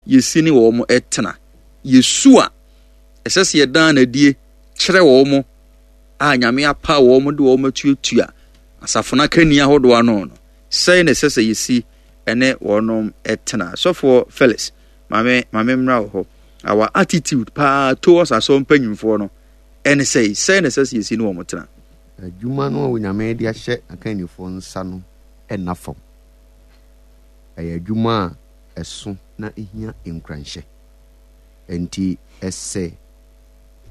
yɛsi ne wɔn tena? Yɛsu a ɛsɛ sɛ yɛdan no adie kyerɛ wɔn a Nyame apaw wɔn de wɔn atuatua asafo no akanni ahodoɔ ano no, sɛn na ɛsɛ sɛ yɛsi ne wɔn tena? Sɔfoɔ Felix, maame maame mmra wɔ hɔ. Our attitude paa towards asɔr mpanyimfoɔ no ɛne sɛn? Sɛn na ɛsɛ sɛ yɛsi ne wɔn tena? Adwuma no a Onyame de ahyɛ akannifoɔ nsa no nna fam. Ɛyɛ adwuma a ɛso na ehia nkuranhyɛ. Enti ɛsɛ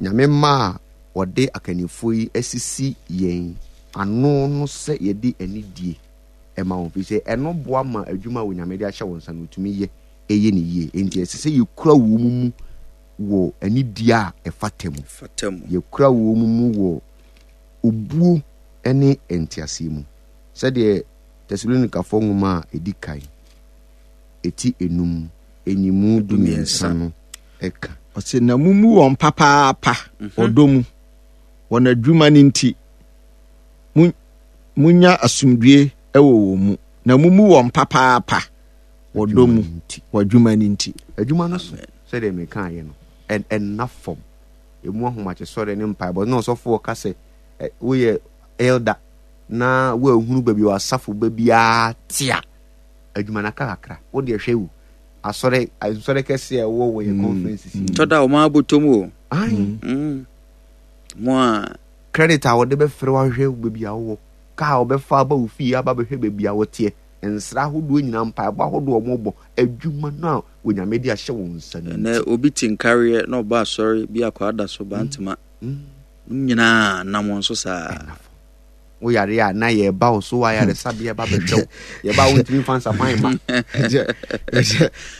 Nyame mma a wɔde akannifoɔ yi asisi yɛn ano no sɛ yɛde anidie ma wɔn, ɛfiri sɛ ɛno boa ma adwuma a Onyame de ahyɛ wɔn nsa no wɔtumi yɛ yɛ no yie. Enti ɛsɛ sɛ yɛkura wɔn mu wɔ anidie a ɛfata mu. Yɛkura wɔn mu wɔ obuo ne nteaseɛ mu. Sɛdeɛ Tesalonikafoɔ nwoma a ɛdi kan, ɛti enum, nyimu 13 no ka. Ɔse, na mummu wɔn papaapa mhm. ɔdɔ mu, wɔn adwuma no nti, munya asomdwie wɔ wɔn mu, na mummu wɔn papaapa ɔdɔ mu, wɔ adwuma no nti. Adwuma no so, sɛdeɛ mekaeɛ no, ɛnna fam. Ɛmu ahomakyesɔre ne mpaebɔ. Na ɔsɔfoɔ ka sɛ, woyɛ elder na woahunu baabi a w'asafo ba biara te a, adwuma no aka kakra. Wo deɛ hwɛ o, asɔre nsɔre kɛse a ɛwɔ wɔ yɛn mm. conferences yi. Tɔ da wɔn abotɔ mu o. Ayi. Mm. Mo a. Credit a wɔde bɛfrɛ wahwehwɛ baabi a wowɔ, kaa a wɔbɛfa aba wo fie aba bɛhwɛ baabi a wɔteɛ, nsra ahodoɔ nyinaa, mpaebɔ ahodoɔ a wɔbɔ, adwuma no a Onyame de ahyɛ wɔn nsa no. Ɛnɛ obi te nkareɛ na ɔba asɔre bi akɔ ada so bantama. Mm. Mm. Nyinaa nam wɔn so saa. Wo yare a na yɛba wo so wɔ ayaresabea ba bɛhwɛ wo. Yɛba a wontumi mfa nsapan mma.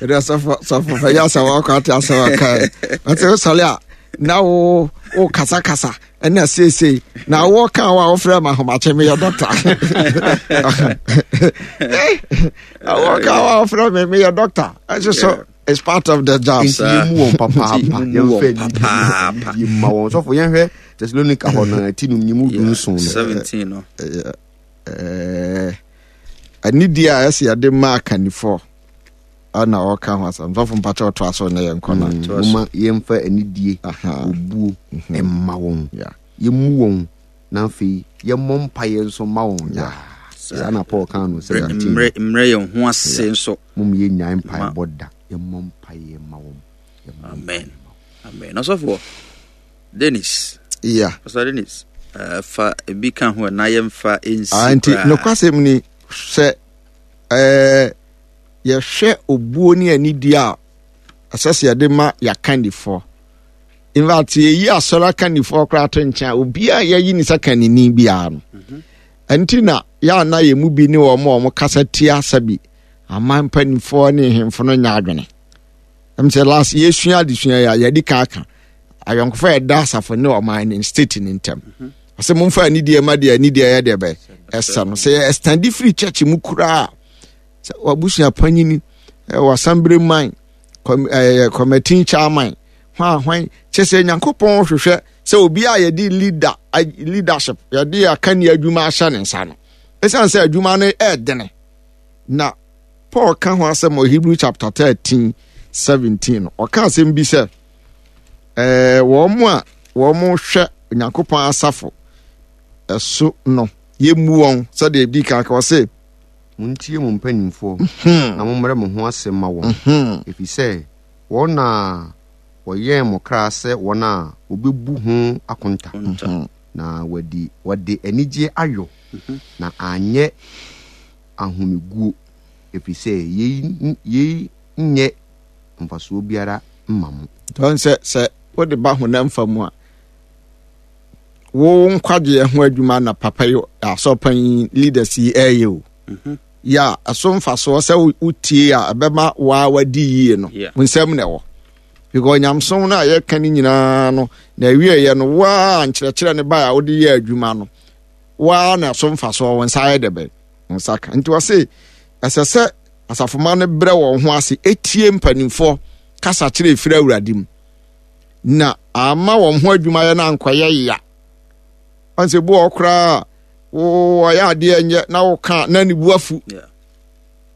Ɛdɛ sɔfo sɔfo fɛ yɛ asɛm akɔ ate asɛm aka ɛ. Ɔte wosɔre a na wo wo kasakasa ɛna seesei na wo ka wo a wofrɛ ma ahomakye meyɛ dɔkta. Wo ka wo a wofrɛ me meyɛ dɔkta. Ɛnso so it's part of the job. Nti yɛmmu wɔn papaapa. Yɛmfa anidie mma wɔn. Sɔfo yɛnhwɛ Thessalonica hɔ no ti num nyimu 17 no. 17 no. Anidie a ɛsɛ yɛde ma akannifoɔ ɛna ɔka ho asɛm. Sɔfo mpakyɛ ɔtoa so na yɛnkɔ no. Moma yɛmfa anidie obuo mma wɔn. Yɛmmu wɔn na afei yɛmmɔ mpaeɛ nso mma wɔn daa. Saa na Paul kaa no 17. Mmerɛ yɛn ho ase nso. Mom yɛnnyae mpaebɔ da. Yɛmmɔ mpaeɛ mma wɔn. Amen. Amen. Ɔsɔfoɔ Dennis. Yeah. Pastor Dennis. Fa ebi ka ho na yɛmfa nsi ah, nti nokwasɛm ni sɛ eh, yɛhwɛ obuo ne anidie a ɛsɛ sɛ yɛde ma yɛakandifoɔ. In fact, yɛyi asɔre akandifoɔ koraa to nkyɛn a obiara yɛyi ne sɛ kanini biara no. Mhm. Ɛnti na yɛana yɛn mu bi ne wɔn a wɔn kasa tia sɛbi aman mpanimfoɔ ne nhemfo no nyɛ adwene. Ɛm sɛ last yɛsua adesua yi a yɛde ka aka ayɔnkofa a ɛda asafo ne ɔman ne state ne ntam. Mhm. Ɔsɛ momfa anidie ma deɛ anidie yɛ deɛ bɛ ɛsɛ no. Sɛ yɛ extend firi church mu koraa sɛ wabusua panyini wasambere man kɔmɛtin chairman hwan hwan kyɛ sɛ Nyankopɔn hwehwɛ sɛ obi a yɛde leader leadership yɛde akanni adwuma ahyɛ ne nsa no. Ɛsiane sɛ adwuma no ɛɛdene na Paul ka ho asɛm wɔ Hebrew chapter 13 17 no ɔka asɛm bi sɛ ɛɛ wɔn a wɔn hwɛ Onyankopɔn asafo ɛso no yɛmmu wɔn sɛdeɛ ebi kan ka ɔse. Montie mo mpanimfoɔ mhm. na mommrɛ mo ho ase mma wɔn, mhm. ɛfiri sɛ wɔn na wɔyɛn mo kra sɛ wɔn a wɔbɛbu ho akonta, mhm. na wɔde wɔde anigyeɛ ayɔ na anyɛ ahomeguo, ɛfiri sɛ yei yei nyɛ mfasoɔ biara mma mo. Tɔn sɛ sɛ wode ba honam fa mu a, wo nkwagyeɛ ho adwuma na papa yi asɔpan yi leaders yi ɛyɛ o. Mhm. Yɛ a ɛso mfasoɔ sɛ wotie a ɛbɛma waa wadi yie no, wo nsɛm na ɛwɔ. Because nyamsom no a yɛka no nyinaa no, na awieɛ no waa nkyerɛkyerɛ no bae a wode yɛ adwuma no, waa na ɛso mfasoɔ wo nsa ayɛ dɛ bɛn. nsa ka nti ɔse ɛsɛ sɛ asafomma no brɛ wɔn ho ase etie mpanimfoɔ kasa kyerɛ efiri awurade mu na ama wɔn ho adwumayɛ no ankɔyɛ ya ɔn sɛ bu wɔ koraa wɔyɛ adeɛ nyɛ na woka na ne bu afu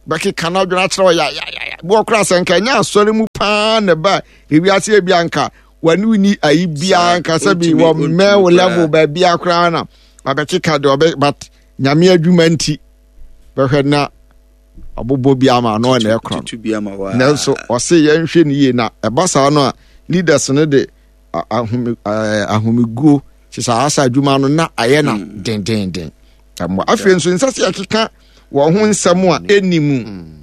bɛkeka no adwene akyerɛ ɔyɛ yayaya. Boɔ koraa sɛ nka ɛnyɛ asɔre mu paa na ɛba ewiase ebi anka wɔne ni ayi biara nka sɛ bi wɔ mmɛn wo level baabi koraa na wabɛkeka deɛ ɔbɛ but nyame adwuma nti bɛhwɛ na ɔbobɔ bi ama ano na ɛkorɔ no nanso ɔse yɛnhwɛ no yie na ɛba saa no a leaders no de ahomeguo kyɛ sɛ asa adwuma no na ayɛ na hmm. dendenden ɛmmoa afei nso nsɛ sɛ yɛkeka wɔn ho nsɛm a ɛnni mu hmm.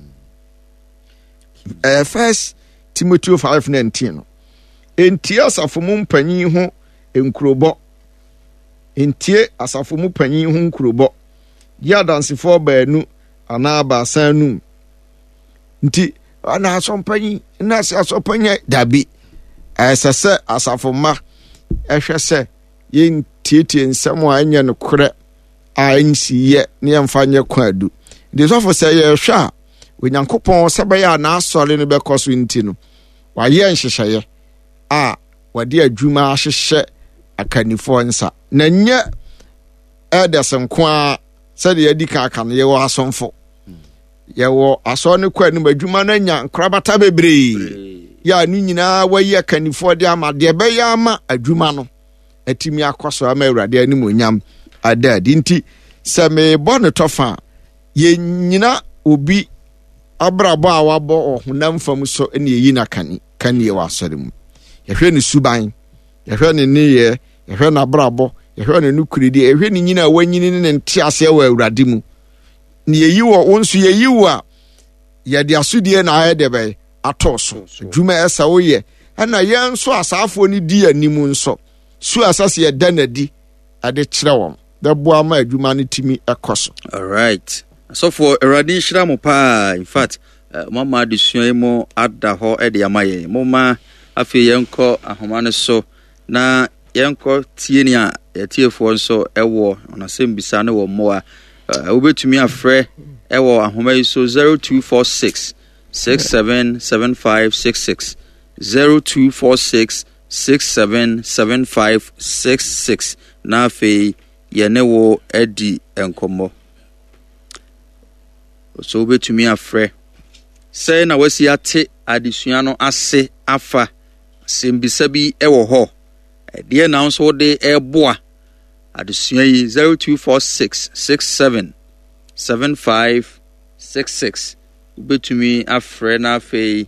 ɛɛ first timothy 5:19 no ntie asafo mu mpanyin ho nkurobɔ ntie asafo mu panyin ho nkurobɔ gye adansefoɔ baanu anaa baasa anum nti na asɔmpanyin na sɛ asɔmpanyin dabi ɛsɛ sɛ asafo mma ɛhwɛ sɛ yɛntietie nsɛm a ɛnyɛ nokorɛ a ɛnsi yɛ ne yɛmfa nyɛ kwan adu nti sɔfo sɛ yɛhwɛ a onyankopɔn sɛ bɛyɛ a n'asɔre no bɛkɔ so nti no wayɛ nhyehyɛeɛ a wɔde adwuma ahyehyɛ akannifoɔ nsa na nyɛ elders nko ara sɛdeɛ yɛadi kan aka no yɛwɔ asomfo yɛwɔ asɔre no kɔ anim adwuma no anya nkorabata bebree yɛ a no nyinaa wayi akannifoɔ de ama deɛ ɛbɛyɛ ama adwuma no atumi akɔ so ama awurade animonyam ada adi nti sɛ merebɔ no tɔfa a yɛnyina obi abrabɔ a wabɔ wɔ honam fam so ne yɛyi no akani kanie wɔ asɔre mu yɛhwɛ ne suban yɛhwɛ ne nneyɛɛ yɛhwɛ n'abrabɔ yɛhwɛ ne nokorɛdie yɛhwɛ ne nyina a wanyini ne ne nteaseɛ wɔ awurade mu ne yɛyi wɔ wo nso yɛyi wo a yɛde asodie na ayɛ deɛ bɛyɛ atɔ so adwuma ɛsɛ woyɛ ɛna yɛn nso asaafoɔ no di anim nso su a ɛsɛ sɛ yɛda n'adi ɛde kyerɛ wɔn bɛboa ma adwuma no tumi ɛkɔ so. Alright. Asɔfoɔ, Awurade nhyira mo paa. In fact, eh, moama adesua yi mu ada hɔ de ama yɛn. Momma afei yɛnkɔ ahoma no so na yɛnkɔ tie nea yɛtiefoɔ nso ɛwɔ wɔn asɛmbisa ne wɔn mmoa. Eh, wobɛtumi afrɛ ɛwɔ ahoma yi so 0246 677566 0246 677566 na afei yɛne wo adi nkɔmmɔ. So wobɛtumi afrɛ. Sɛn na wasi ate adesua no ase afa? Asɛmbisa bi wɔ hɔ. Ɛdeɛ na nso wode ɛreboa adesua yi 0246 67 7566 wobɛtumi afrɛ na afei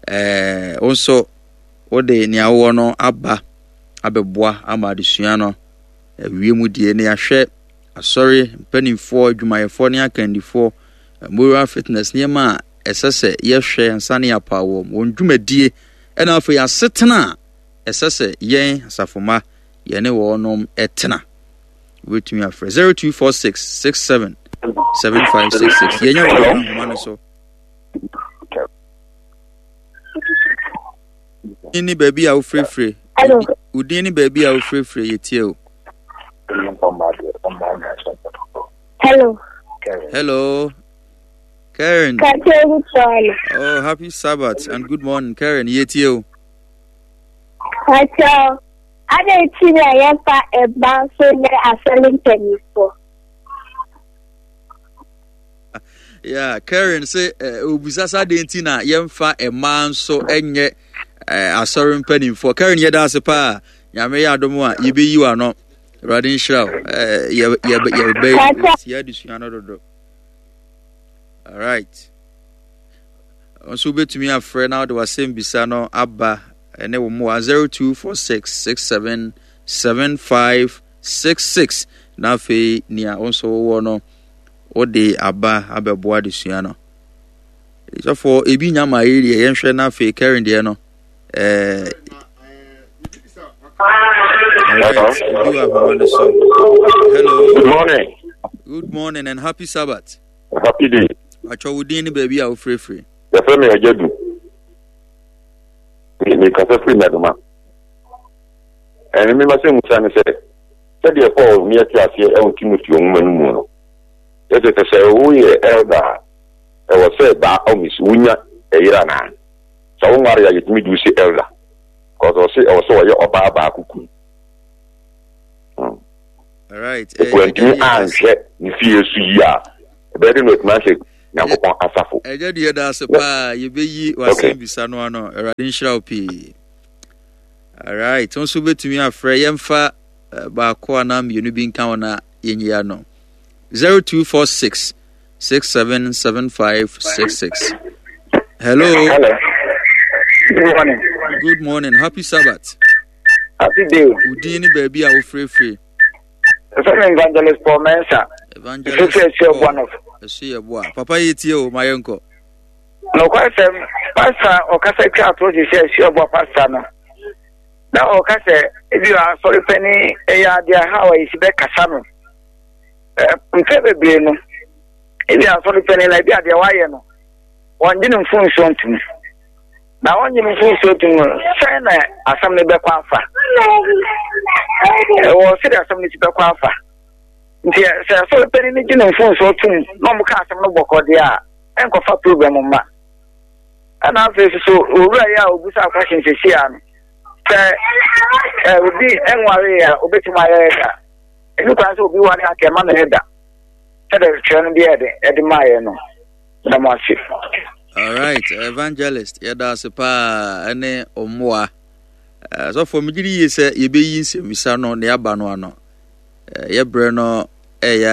ɛɛ wo nso wode nea wowɔ no aba abɛboa ama adesua no awie mu die na yɛahwɛ asɔre mpanimfoɔ, adwumayɛfoɔ ne akandifoɔ, moral fitness nneɛma a ɛsɛ sɛ yɛhwɛ ansa ne yɛapaw wɔn, wɔn dwumadie, ɛna afei asetena a ɛsɛ sɛ yɛn asafomma yɛne wɔnom tena. Wobɛtumi afrɛ 0246 67 7566. Yɛnya wɔ ahoma no so. ne baabi a wofirefire wo din ne baabi a wofirefire yɛtie o Hello. Hello. Karen. Oh, happy Sabbath and good morning, Karen. Yɛtie o. Pacho, adɛn nti na yɛmfa mma nso nyɛ asɔre mpanimfoɔ? Yeah, Karen sɛ eh, obisa sɛ adɛn nti na yɛmfa mmaa nso nyɛ eh, asɔre mpanimfoɔ. Karen yɛda ase paa. Nyame yɛ adom a yɛbɛyi w'ano. Awurade nhyira wo. Eh, yɛbɛyɛ adesua no dodo. All right. Nso wobɛtumi afrɛ na wode w'asɛm bisa no aba ɛne wo mmoa 0246677566 na afei nea wo nso wowɔ no wode aba abɛboa adesua no. Sɔfoɔ ebi nya ma yi deɛ yɛnhwɛ na afei Karen deɛ no ɛɛ Alright, obi wɔ ahoma no so. Hello. Good morning. Good morning and happy Sabbath. Happy day. Atwa wo din ne baabi a wofirifiri. Yɛfrɛ me Agya Du. Mekasa firi Madoma. Ɛne me masɛ musa ne sɛ sɛdeɛ Paul ne yɛte aseɛ ɛwɔ Timoteo nwoma no mu no, yɛsɛ sɛ sɛ woyɛ elder a, ɛwɔ sɛ baa ɔmis wonya ɛyere anaa? Sɛ wonware a yɛtumi de wo si elder. Because ɔse ɛwɔ sɛ ɔyɛ ɔbaa baako kunu. Hmm. Alright. Wantumi anhwɛ ne fie so yie a, ɛbɛyɛ de na watumi ahwɛ. Nyankopɔn asafo. Ɛgya deɛ da ase paa yɛbɛyi w'asɛm bisa no ano. Awurade nhyira wo pii. Alright, nso wobɛtumi afrɛ yɛmfa eh, baako anaa mmienu bi nka ho na yɛnyi ano. 0246 677566. Hello. Hello. Good morning. Good morning. Happy Sabbath. Happy day. Udin ne baabi a wofirefiri. Ɛfɛ mi Evangelist Paul Mensa. Evangelist Paul. Ɛso yɛ boa. Papa yɛ tie o, ma yɛn kɔ. Nokwasɛm, pasta ɔkasa twa atorɔ sisi a ɛso yɛ boa pasta no. Na ɔka sɛ ebi wɔ asɔre panyin ɛyɛ adeɛ a how a yɛsi bɛkasa no. Mfɛ bebree no, ebi asɔre panyin na ebi adeɛ wayɛ no, wɔngye ne mfomsoɔ ntom. Na wɔngye ne mfomsoɔ ntom no, sɛn na asɛm no bɛkɔ afa? Ɛwɔ sɛdeɛ asɛm no si bɛkɔ afa. Nti sɛ asɔre panyin no gye ne mfomsoɔ tom na wɔn ka asɛm no bɔkɔ deɛ a, ɛnkɔfa problem mma. Ɛna afei nso so owura yi a obusa question sɛsi a no, sɛ obi nware a obetumi ayɛ ɛda. Ɛni kwan sɛ obi ware a kɛma no ɛda. Sɛdeɛ twerɛ no deɛ ɛde ɛde maayɛ no. Meda mo ase. Alright, evangelist, yɛda ase paa ɛne ɔmmoa. Sɔfoɔ, megye di yie sɛ yɛbɛyi nsɛmmisa no na yɛaba no ano. Yɛbrɛ no ɛyɛ.